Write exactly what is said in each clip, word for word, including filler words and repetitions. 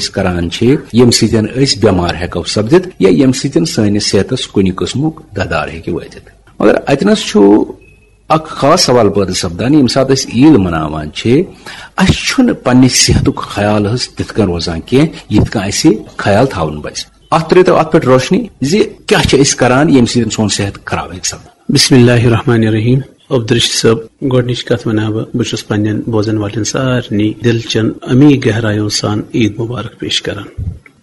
أسۍ کران چھِ، ییٚمہِ سۭتۍ أسۍ بٮ۪مار ہٮ۪کو سپدِتھ یا ییٚمہِ سۭتۍ سٲنِس صحتس کُنہِ قٕسمُک دَدار ہیٚکہِ وٲتِتھ۔ مگر اتہِ نس چھُ اکھ خاص سوال پٲدٕ سپدان، ییٚمہِ ساتہٕ أسۍ عیٖد مناوان چھِ، اسہِ چھُنہٕ پننہِ صحتُک خیال حظ تِتھ کٔنۍ روزان کینٛہہ، یِتھ کٔنۍ اسہِ خیال تھاوُن پزِ۔ اتھ ترٲوتو اتھ پٮ۪ٹھ روشنی زِ کیٛاہ چھِ أسۍ کران، ییٚمہِ سۭتۍ سون صحت خراب ہیٚکہِ سپدِتھ۔ بسم اللہ الرحمن الرحیم۔ عبدالرشید صٲب، گۄڈٕنِچ کتھ ونہٕ ہا بہٕ، بہٕ چھُس پننٮ۪ن بوزن والٮ۪ن سارنٕے دِل چٮ۪ن عمیٖق گہرایو سان عیٖد مبارک پیش کران۔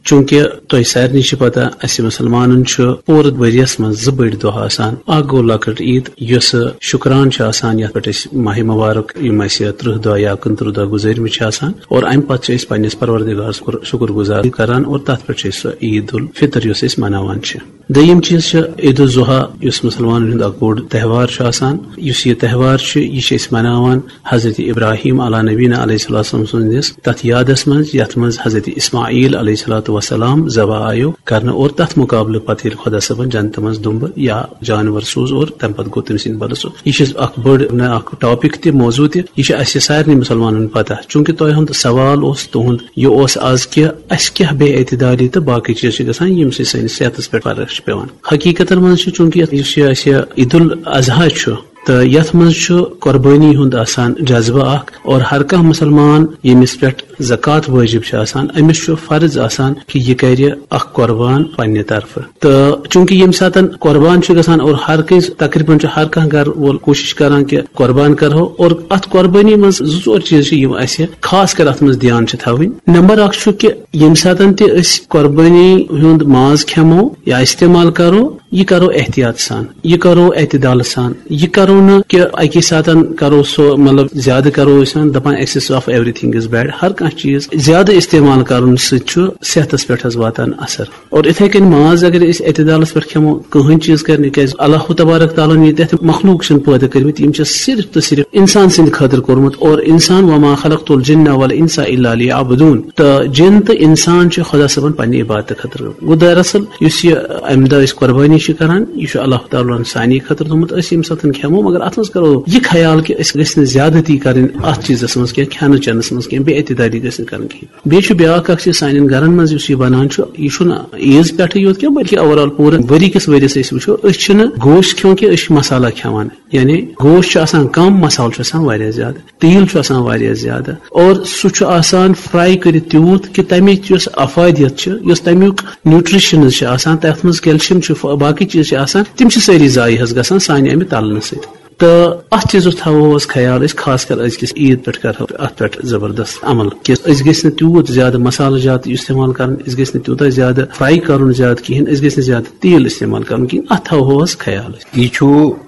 چوٗنٛکہِ تۄہہِ سارنٕے چھِ پتہ، اسہِ مُسلمانن چھُ پوٗرٕ ؤریَس منٛز زٕ بٔڑۍ دۄہ آسان۔ اکھ گوٚو لۄکٕٹ عیٖد، یۄس شُکران چھِ آسان، یتھ پٮ۪ٹھ أسۍ ماہِ مبارک، یِم اسہِ ترٕٛہ دۄہ یا کُنترٕٛہ دۄہ گُزٲرمٕتۍ چھِ آسان، اور امہِ پتہٕ چھِ أسۍ پننِس پروردگار سُنٛد شُکر، شُکر گُزار کران، اور تتھ پٮ۪ٹھ چھِ أسۍ سۄ عیٖد الفطر، یۄس أسۍ مناوان چھِ۔ دوٚیِم چیٖز چھِ عید الضحیٰ، یُس مُسلمانن ہُنٛد اکھ بوٚڑ تہوار چھُ آسان۔ یُس یہِ تہوار چھُ، یہِ چھِ أسۍ مناوان حضرت ابراہیم علیٰ نبینا علیہ الصلوۃ والسلام سٕنٛدِس تَتھ یادَس منٛز، یَتھ منٛز حضرت اسماعیل علیہ الصلوۃ والسلام ذبح آیو کرنہٕ، اور تَتھ مُقابلہٕ پَتہٕ ییٚلہِ خۄدا صٲبَن جنتہٕ منٛز دُمبہٕ یا جانور سوٗز، اور تَمہِ پَتہٕ گوٚو تٔمۍ سٕنٛدِ بدلہٕ سُہ۔ یہِ چھِ اَکھ بٔڑ، نہ، اَکھ ٹاپک تہِ، موضوع تہِ۔ یہِ چھِ اَسہِ سارنٕے مُسلمانَن پَتہ۔ چوٗنٛکہِ تۄہہِ ہُنٛد سوال اوس، تُہُنٛد یہِ اوس آز کہِ اَسہِ کیٛاہ بے اعتدالی تہٕ باقٕے چیٖز چھِ گژھان، ییٚمہِ سۭتۍ سٲنِس صحتَس پٮ۪ٹھ فرق چھِ پٮ۪وان۔ حقیٖقتَن منٛز چھُ، چوٗنٛکہِ یَتھ، یُس یہِ اَسہِ عید الاضحیٰ چھُ، تہٕ یَتھ منٛز چھُ قۄربٲنی ہُنٛد آسان جذبہٕ اَکھ، اور ہر کانٛہہ مُسلمان ییٚمِس پٮ۪ٹھ زکوٰۃ وٲجِب چھِ آسان، أمِس چھُ فرض آسان کہِ یہِ کَرِ اَکھ قۄربان پنٛنہِ طرفہٕ۔ تہٕ چوٗنٛکہِ ییٚمہِ ساتَن قۄربان چھُ گژھان، اور ہر کٲنٛسہِ، تقریٖباً چھُ ہر کانٛہہ گَرٕ وول کوٗشِش کَران کہِ قۄربان کَرہو، اور اَتھ قۄربٲنی منٛز زٕ ژور چیٖز چھِ، یِم اَسہِ خاص کر اَتھ منٛز دھیان چھِ تھاوٕنۍ۔ نمبر اَکھ چھُ کہِ ییٚمہِ ساتَن تہِ أسۍ قۄربٲنی ہُنٛد ماز کھٮ۪مو یا استعمال کَرو، یہِ کرو احتیاط سان، یہِ کرو اعتدال سان، یہِ کرو نہٕ کہِ اَکی ساتَن کرو سُہ، مطلب، زیادٕ کرو أسۍ وَنان، دَپان excess of everything is bad۔ ہر کانٛہہ چیٖز زیادٕ استعمال کرُن سۭتۍ چھُ صحتَس پٮ۪ٹھ حظ واتان اثر۔ اور اِتھَے کٔنۍ ماز اگر أسۍ اعتدالَس پٮ۪ٹھ کھٮ۪مو، کٕہٕنۍ چیٖز کرِ نہٕ، کیٛازِ اللہ تبارک تعالیٰ ہَن ییٖتیٛاہ تہِ مخلوق چھِنہٕ پٲدٕ کٔرمٕتۍ، یِم چھِ صرف تہٕ صرف اِنسان سٕنٛدِ خٲطرٕ کوٚرمُت۔ اور اِنسان، وما خلقت الجن والانس الا لیعبدون، تہٕ جِن تہٕ اِنسان چھِ خۄدا صٲبَن پنٛنہِ عبادتہٕ خٲطرٕ۔ گوٚو دراصل یُس یہِ اَمہِ دۄہ أسۍ قۄربٲنی چھِ کران، یہِ چھُ اللہ تعالیٰ ہَن سانی خٲطرٕ تھوٚمُت۔ أسۍ ییٚمہِ ساتہٕ کھٮ۪مو، مگر اَتھ منٛز کرو یہِ خیال کہِ أسۍ گٔژھۍ نہٕ زیادتی کرٕنۍ اَتھ چیٖزَس منٛز کینٛہہ، کھٮ۪نہٕ چٮ۪نَس منٛز کینٛہہ، بے اعتدالی گٔژھۍ نہٕ کرٕنۍ کِہیٖنۍ۔ بیٚیہِ چھُ بیٛاکھ اکھ چیٖز، سانٮ۪ن گرن منٛز یُس یہِ بنان چھُ، یہِ چھُنہٕ عیٖز پٮ۪ٹھٕے یوت کینٛہہ، بلکہِ overall پوٗرٕ ؤری کِس ؤریَس أسۍ وٕچھو، أسۍ چھِنہٕ گوشت کھٮ۪وان کینٛہہ، أسۍ چھِ مسالہ کھٮ۪وان۔ یعنی گوشت چھُ آسان کم، مسالہٕ چھُ آسان واریاہ زیادٕ، تیٖل چھُ آسان واریاہ زیادٕ، اور سُہ چھُ آسان fry کٔرِتھ تیوٗت کہِ تَمِچ یۄس افادیت چھِ، یۄس تَمیُک nutritions چھِ آسان، تَتھ منٛز calcium چھُ، ف-، باقٕے چیٖز چھِ آسان، تِم چھِ سٲری ضایع حظ گژھان سانہِ اَمہِ تَلنہٕ سۭتۍ۔ تہٕ اَتھ چیٖزَس تھاوو أسۍ خیال، أسۍ خاص کر أزکِس عیٖد پٮ۪ٹھ کرو اَتھ پٮ۪ٹھ زبردست عمل کہِ أسۍ گٔژھۍ نہٕ تیوٗت زیادٕ مسالہٕ جات استعمال کرُن، أسۍ گٔژھۍ نہٕ تیوٗتاہ زیادٕ fry کرُن زیادٕ کِہیٖنۍ، أسۍ گٔژھۍ نہٕ زیادٕ تیٖل استعمال کرُن کِہیٖنۍ، اَتھ تھاوو أسۍ خیال أسۍ۔ یہِ چھُ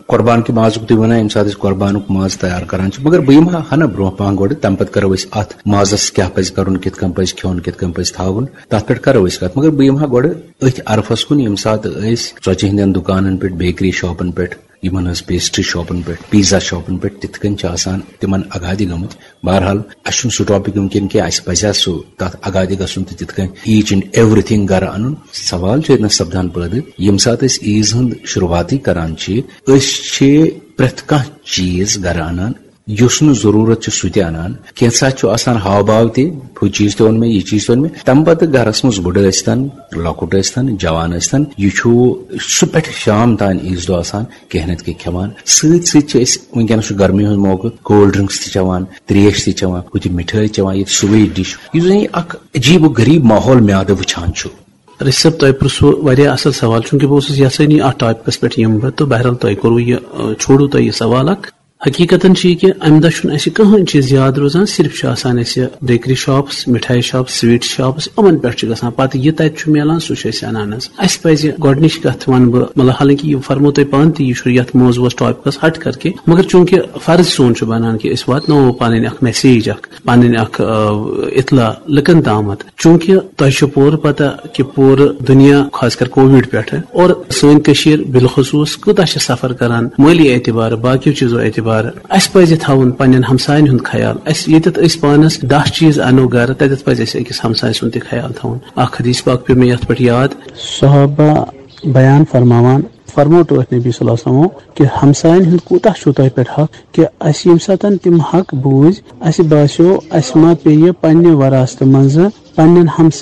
قۄربان کہِ مازُک تُہۍ وَنان، ییٚمہِ ساتہٕ أسۍ قۄربانُک ماز تیار کران چھِ، مگر بہٕ یِمہٕ ہا ہنا برونٛہہ پہن گۄڈٕ، تَمہِ پَتہٕ کرو أسۍ اَتھ مازَس کیٛاہ پَزِ کَرُن، کِتھ کٔنۍ پَزِ کھیوٚن، کِتھ کٔنۍ پَزِ تھاوُن، تَتھ پٮ۪ٹھ کرو أسۍ کَتھ۔ مگر بہٕ یِمہٕ ہا گۄڈٕ أتھۍ عرفَس کُن، ییٚمہِ ساتہٕ أسۍ ژۄچہِ ہٕنٛدٮ۪ن دُکانَن پٮ۪ٹھ، بیکری شاپَن پٮ۪ٹھ، یِمَن ہٕنٛز pastry شاپَن پٮ۪ٹھ، پیزا شاپَن پٮ۪ٹھ، تِتھ کٔنۍ چھِ آسان تِمَن آگادی گٔمٕتۍ۔ بہرحال، اَسہِ چھُنہٕ سُہ topic وٕنکٮ۪ن کینٛہہ، اَسہِ پَزِ ہا سُہ تَتھ آگادی گژھُن تہٕ تِتھ کٔنۍ each and everything گَرٕ اَنُن۔ سوال چھُ ییٚتہِ نَس سَپدان پٲدٕ، ییٚمہِ ساتہٕ أسۍ عیٖز ہُنٛد شروٗعاتٕے کَران چھِ، أسۍ چھِ پرٛٮ۪تھ کانٛہہ چیٖز گَرٕ اَنان، یُس نہٕ ضروٗرت چھُ سُہ تہِ اَنان۔ کینٛژھا چھُ آسان ہاو باو تہِ، ہُہ چیٖز تہِ اوٚن مےٚ، یہِ چیٖز تہِ اوٚن مےٚ۔ تَمہِ پَتہٕ گَرَس منٛز بُڈٕ ٲسۍتَن، لۄکُٹ ٲسۍتَن، جوان ٲسۍتَن، یہِ چھُ سُہ پٮ۪ٹھ شام تام عیٖذ دۄہ آسان کینٛہہ نَتہٕ کینٛہہ کھٮ۪وان۔ سۭتۍ سۭتۍ چھِ أسۍ، وٕنکٮ۪نَس چھُ گرمی ہُنٛد موقعہٕ، cold drinks تہِ چٮ۪وان، ترٛیش تہِ چٮ۪وان، ہُتہِ مِٹھٲے چٮ۪وان، ییٚتہِ سُہ ویٹ ڈِش، یُس زَن یہِ اَکھ عجیٖب و غریٖب ماحول میادٕ وٕچھان چھُ۔ رشید صٲب، تۄہہِ پرٛژھوٕ واریاہ اَصٕل سوال، چوٗنٛکہِ بہٕ اوسُس یَژھٲنی اَتھ ٹاپِکَس پٮ۪ٹھ یِمہٕ بہٕ، تہٕ بہرحال تۄہہِ کوٚروٕ یہِ، آ، چھوڑوٕ تۄہہِ یہِ سوال اَکھ۔ حقیٖقتاً چھُ یہِ کہِ اَمہِ دۄہ چھُنہٕ اَسہِ کٕہٕنۍ چیٖز یاد روزان، صرف چھُ آسان اَسہِ بیکری شاپٕس، مِٹھایہِ شاپٕس، سویٖٹ شاپٕس، یِمَن پٮ۪ٹھ چھُ گژھان۔ پَتہٕ یہِ تَتہِ چھُ میلان، سُہ چھُ أسۍ اَنان حظ۔ اَسہِ پَزِ گۄڈٕنِچ کَتھ وَنہٕ بہٕ، مطلب، حالانکہِ یہِ فرمو تۄہہِ پانہٕ تہِ، یہِ چھُ یَتھ موضوعَس ٹاپِکَس ہَٹ کر کے، مگر چوٗنٛکہِ فرض سون چھُ بَنان کہِ أسۍ واتناوو پَنٕنۍ اَکھ message اَکھ، پَنٕنۍ اَکھ، آ، اطلاع لُکَن تامَتھ۔ چوٗنٛکہِ تۄہہِ چھُ پوٗرٕ پتہ کہِ پوٗرٕ دُنیا، خاص کر کووِڈ پٮ۪ٹھٕ، اور سٲنۍ کٔشیٖر بالخصوٗص، کۭژاہ چھِ سفر کران مٲلی اعتبارٕ، باقیو چیٖزو اعتبارٕ۔ اَسہِ پزِ تھاوُن پننٮ۪ن ہمساین ہُنٛد خیال۔ اَسہِ ییٚتٮ۪تھ أسۍ پانس دَہ چیٖز انو گرٕ، تتٮ۪تھ پزِ اَسہِ أکِس ہمسایہِ سُنٛد تہِ خیال تھاوُن۔ اکھ حدیث پاک پیوٚو مےٚ یتھ پٮ۪ٹھ یاد۔ صحابہ بیان فرماوان، فرموو تہٕ أتھۍ نبی صلی اللہ علیہ وسلمو کہِ ہمساین ہُنٛد کوٗتاہ چھُو تۄہہِ پٮ۪ٹھ حق، کہِ اَسہِ ییٚمہِ ساتَن تِم حق بوٗزۍ، اَسہِ باسیو اَسہِ ما پیٚیہِ پننہِ وراثتہٕ منٛزٕ پننٮ۪ن ہمساین